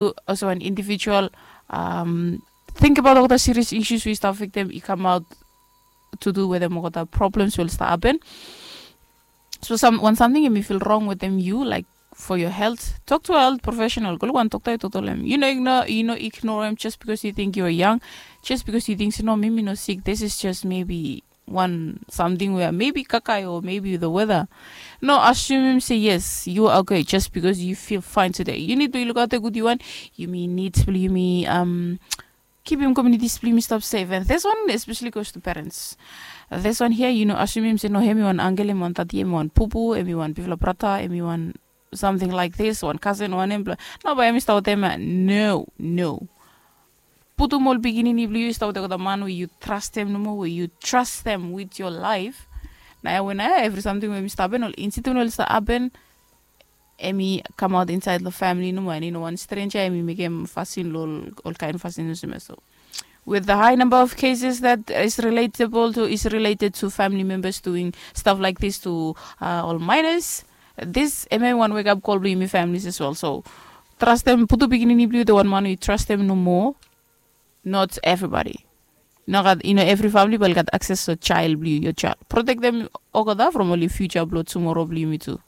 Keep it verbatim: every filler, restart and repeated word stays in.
Olsem wan individual, um, tingbaot olgeta serious issues we i stap afektem i kamaot to do wetem olgeta problems we oli stap happen. So sam wan samting em i fil rong wetem yu, like, for your health, tok to a health professional. Go luk wan dokta, yu toktok long em. Yu no ignore, yu no ignore em just because yu ting yu are young, just because yu ting se no, mi mi no sik, this is just maybe wan samting we maybe kakai o maybe the weather. No asumim se yes, yu are okay just because yu fil fine today. Yu nid blong yu lukaot gud, yu wan, yumi nid blong yumi, um, kipim communities blong yumi stap safe. And this one especially goes to parents. This one here, yu no asumim se no, hemi wan angel, hemi wan tati, hemi wan pupu, hemi wan bifala brata, hemi wan something like this, wan kasen, wan em blong, no, bae hemi stap wetem ya. No, no. Putum ol pikinini blong yu i stap wetem olgeta man we yu trastem nomo, we yu trastem with your life. Naoia we naoia evri samting we hemi stap hapen, ol incident we oli stap hapen, hemi kamaot insaed long famili nomo, and i no wan stranger hemi mekem fasin long ol kaen fasin olsem ya. So with the high number of cases that is relatable to, is related to family members doing stuff like this to, uh, ol minors, this hemi wan wake up call blong yumi families as well. So trastem, putum pikinini blong yu wetem wan man we yu trastem nomo. Not everybody. Nogat, yu no, evri famili bae oli gat access long child blong yu, your child. Protektem olgeta from oli future blong tumoro blong yumi tu.